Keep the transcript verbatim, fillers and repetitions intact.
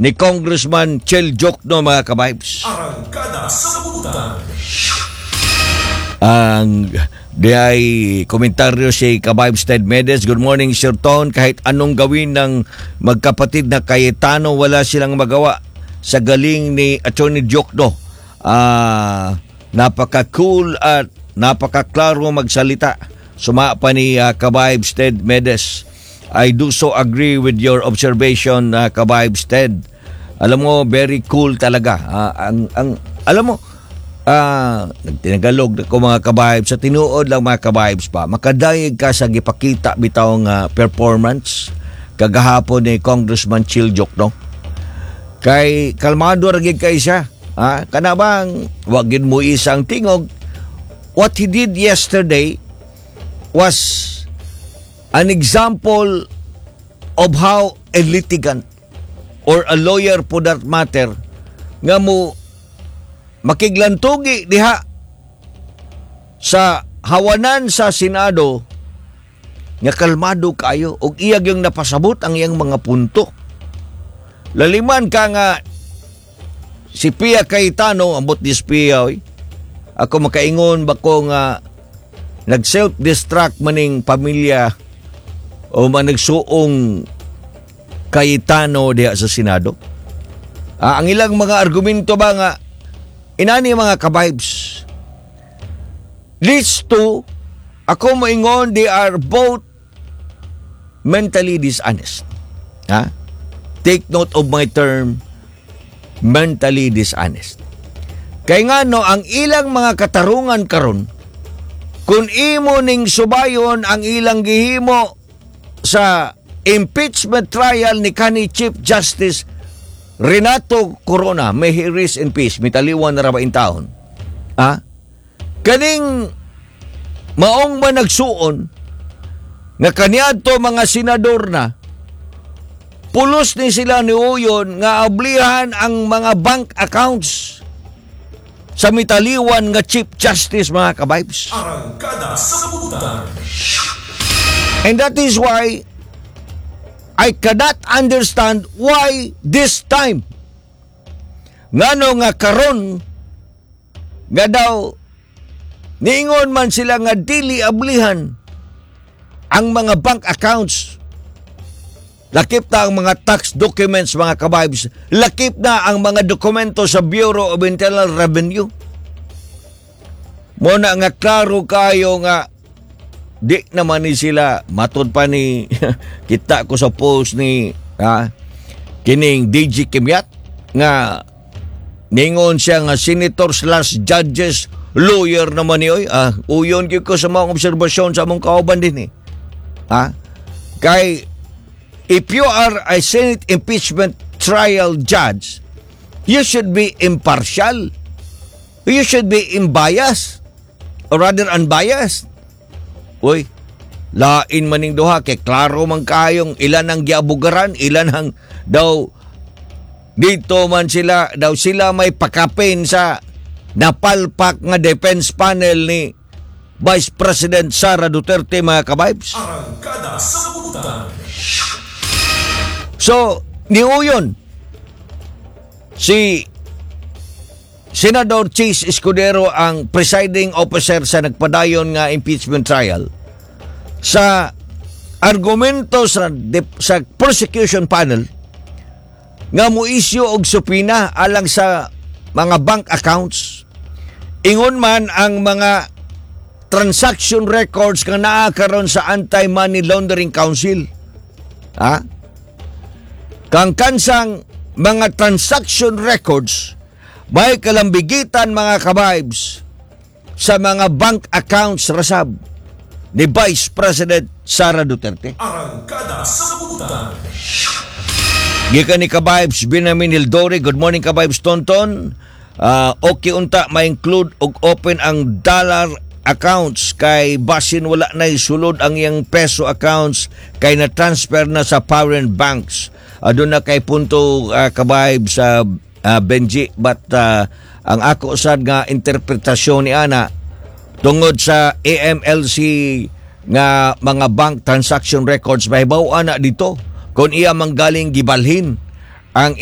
ni Congressman Chel Diokno, mga kabibes. Arangkada sa Butan. Ang di ay komentaryo si Kabibes Ted Medes. "Good morning, Sir Ton. Kahit anong gawin ng magkapatid na Cayetano, wala silang magawa sa galing ni Attorney Diokno. Ah, napaka-cool at napaka-klaro magsalita." Suma pa ni uh, Kabibes Ted Medes. I do so agree with your observation, uh, Kabibes Ted. Alam mo, very cool talaga. Ah, ang, ang, alam mo, ah, nagtinagalog ko, mga kabibes, sa tinuod lang, mga kabibes pa, makadayeg ka sa gipakita bitaw nga performance kagahapon ni Congressman Chel Diokno. Kay kalmado ra gid kay siya. Ah, kana bang wa gid mo isang tingog. What he did yesterday was an example of how a litigant or a lawyer for that matter nga mo makiglantugi diha sa hawanan sa Senado nga kalmado kayo ug iya gyung napasabot ang iyang mga punto. Laliman ka nga si Pia Cayetano, ambot ni Pia, oy. Ako makaingon ba ko nga nag self-destruct maning pamilya o man nagsuong Cayetano diha sa Senado. Ah, ang ilang mga argumento ba nga inani, mga kabibes. These two, ako moingon, they are both mentally dishonest. Ha? Take note of my term, mentally dishonest. Kay nga no, ang ilang mga katarungan karon, kung imo ning subayon ang ilang gihimo sa impeachment trial ni kanhi Chief Justice Renato Corona, may he rest in peace, mitaliwan na ra ba in taon? Ha? Kaning maong managsuon nga kaniadto mga senador na pulos ni sila ni Uyon nga ablihan ang mga bank accounts sa mitaliwan nga Chief Justice, mga kabibes. Arangkada sa Butan. And that is why I cannot understand why this time. Ngano nga karon nga daw niingon man sila nga dili ablihan ang mga bank accounts. Lakip na ang mga tax documents, mga kabibes. Lakip na ang mga dokumento sa Bureau of Internal Revenue. Muna nga klaro kayo nga di naman ni sila matod pa ni kita ko sa post ni ha, kining D G Kimyat nga ningon siya nga senator slash judges lawyer naman ni oy. Ah, uyon gyud ko sa mga obserbasyon sa among kauban din eh. Ha, kay if you are a Senate impeachment trial judge, you should be impartial, you should be unbiased, or rather unbiased. Uy, lain maning duha kay klaro man kayong ilan ang giabugaran, ilan ang daw dito man sila daw sila may pakapin sa napalpak nga defense panel ni Vice President Sara Duterte, mga kabibes. Arangkada sa Butan. So, niuyon si Senador Chiz Escudero, ang presiding officer sa nagpadayon nga impeachment trial, sa argumento sa sa prosecution panel nga mo-issue og subpoena alang sa mga bank accounts. Ingon man ang mga transaction records nga naa karon sa Anti-Money Laundering Council. Ha? Kang kansang mga transaction records may kalambigitan, mga kabibes, sa mga bank accounts rasab ni Vice President Sara Duterte. Arangkada sa Butan. Gikan ni Kabibes Benjamin Hildori, "Good morning, Kabibes Tonton. Ah, okay unta ma-include og open ang dollar accounts kay basin wala na sulod ang iyang peso accounts kay na transfer na sa foreign banks." Aduna na kay punto, uh, Kabibes sa Benji, but ah, ang ako sad nga interpretasyon ni ana tungod sa A M L C nga mga bank transaction records, mahibaw ana dito kung iya manggaling gibalhin ang